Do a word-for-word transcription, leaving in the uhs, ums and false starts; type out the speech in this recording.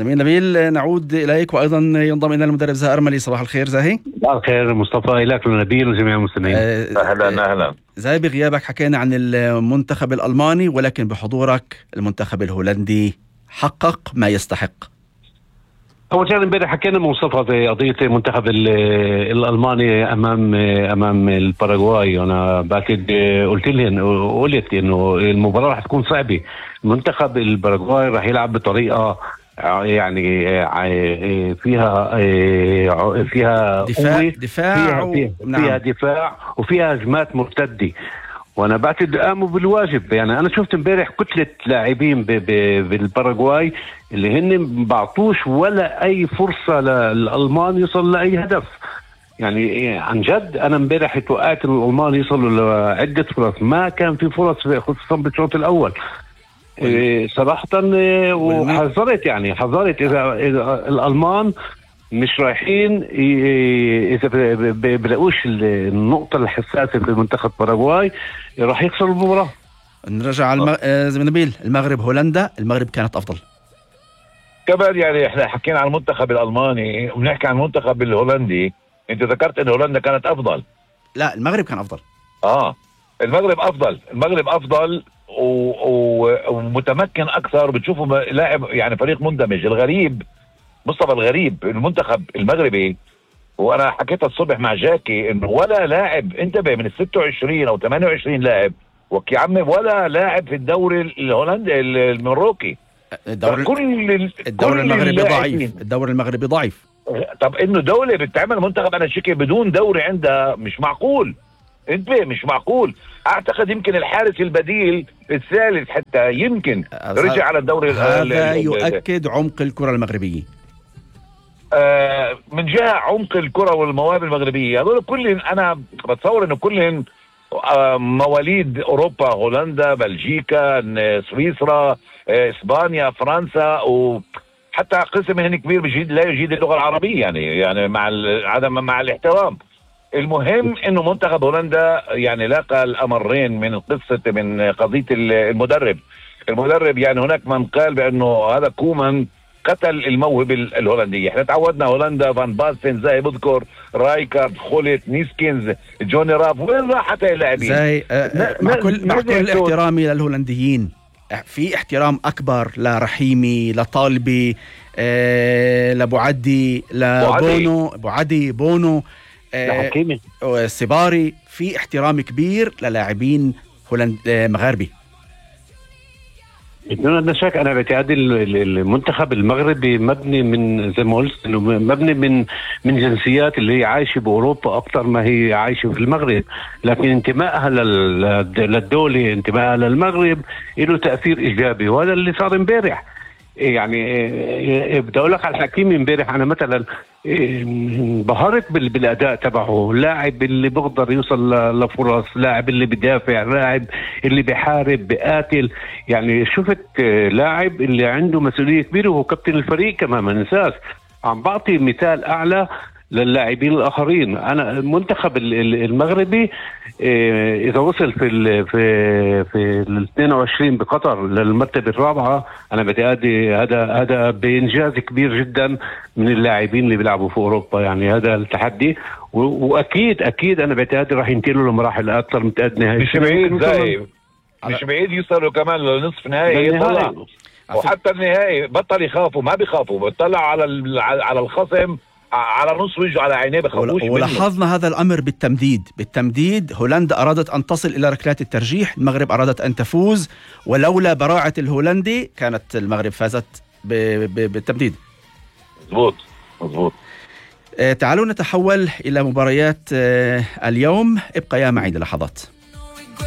زميل نبيل، نعود إليك، وأيضا ينضم إلينا المدرب زاهي أرملي. صباح الخير زاهي. صباح الخير مصطفى، لك ونبيل وجميع المستمعين. أهلا أهلا. زاهي، بغيابك حكينا عن المنتخب الألماني، ولكن بحضورك المنتخب الهولندي حقق ما يستحق. أول شيء امبارح حكينا مصطفى في قضية المنتخب الألماني أمام أمام الباراغواي. أنا بعتقد قلت لهم قلت إنه المباراة رح تكون صعبة. منتخب الباراغواي رح يلعب بطريقة يعني فيها فيها دفاع دفاع فيها, فيها, نعم. فيها دفاع وفيها هجمات مرتدة، وانا بعتقد قاموا بالواجب. يعني انا شفت امبارح كتله لاعبين بالباراغواي اللي هن بعطوش ولا اي فرصه للالمان يوصل لاي هدف. يعني عن جد انا امبارح توقعت الالمان يوصلوا لعده فرص، ما كان في فرص خصوصا بالشوط الاول. إيه صراحه، وحذرت يعني حذرت اذا, إذا الالمان مش رايحين اذا بلاقوش النقطه الحساسه في منتخب باراغواي راح يخسروا المباراه. نرجع على المغ... زي نبيل، المغرب هولندا، المغرب كانت افضل كمان. يعني احنا حكينا عن المنتخب الالماني وبنحكي عن المنتخب الهولندي. انت ذكرت ان هولندا كانت افضل. لا، المغرب كان افضل. اه المغرب افضل المغرب افضل و... و... ومتمكن اكثر. بتشوفوا لاعب يعني فريق مندمج. الغريب مصطفى، الغريب المنتخب المغربي، وانا حكيت الصبح مع جاكي انه ولا لاعب، انتبه، من ال ستة وعشرين او ثمانية وعشرين لاعب وكي عمي ولا لاعب في الدوري الهولندي المروكي. الدوري كل الدوري المغربي ضعيف. الدوري المغربي ضعيف. طب انه دولة بتعمل منتخب انا شكي بدون دوري عندها مش معقول. انتبه، مش معقول. اعتقد يمكن الحارس البديل الثالث حتى يمكن رجع على الدوري. هذا يؤكد عمق الكرة المغربية. آه من جهة عمق الكرة والمواهب المغربية، هذول كلهم أنا بتصور إنه كلهم آه مواليد أوروبا، هولندا، بلجيكا، سويسرا، آه إسبانيا، فرنسا، وحتى قسم منهم كبير بجيد لا يجيد اللغة العربية. يعني يعني مع عدم مع الاحترام. المهم إنه منتخب هولندا يعني لاقى الأمرين من قصة من قضية المدرب. المدرب يعني هناك من قال بأنه هذا كومان قتل الموهبة الهولندية. احنا تعودنا هولندا فان باستن، زي بذكر رايكارد، خولت، نيسكينز، جوني راف، وين راحت اللاعبين؟ زي آه مع كل مع كل احترامي للهولنديين، في احترام اكبر لرحيمي، لطالبي، آه لبوعدي، لبونو، بوعدي، بونو، آه سباري. في احترام كبير للاعبين هولند مغاربي. بدون شك انا باعتقادي المنتخب المغربي مبني من زي ما قلت انه مبني من من جنسيات اللي هي عايشه باوروبا اكثر ما هي عايشه في المغرب، لكن انتمائها للدوله، انتمائها للمغرب له تاثير ايجابي، وهذا اللي صار امبارح. يعني بدي اقول لك على الحكيمي امبارح، انا مثلا انبهرت بالاداء تبعه. لاعب اللي بقدر يوصل لفرص، لاعب اللي بدافع، لاعب اللي بحارب بقاتل. يعني شفت لاعب اللي عنده مسؤوليه كبيره، وهو كابتن الفريق كمان ما ننساش. عم بعطي مثال اعلى للاعبين الاخرين. انا المنتخب المغربي اذا وصل في ال في في ال اثنين وعشرين بقطر للمرتبه الرابعه، انا بعتقد هذا هذا بانجاز كبير جدا من اللاعبين اللي بيلعبوا في اوروبا. يعني هذا التحدي، واكيد اكيد انا بعتقد راح ينتقلوا لمراحل اكثر متقدمه. مش بعيد زي مش بعيد يوصلوا كمان لنصف نهائي يطلعوا، وحتى النهائي بطل يخافوا، ما بيخافوا، بيطلعوا على على الخصم على نص وجهه، على عينيه، بخافوش منه. ولاحظنا هذا الامر بالتمديد بالتمديد هولندا ارادت ان تصل الى ركلات الترجيح، المغرب ارادت ان تفوز، ولولا براعه الهولندي كانت المغرب فازت بالتمديد. مظبوط مظبوط. آه تعالوا نتحول الى مباريات آه اليوم. ابقى يا معي للحظات.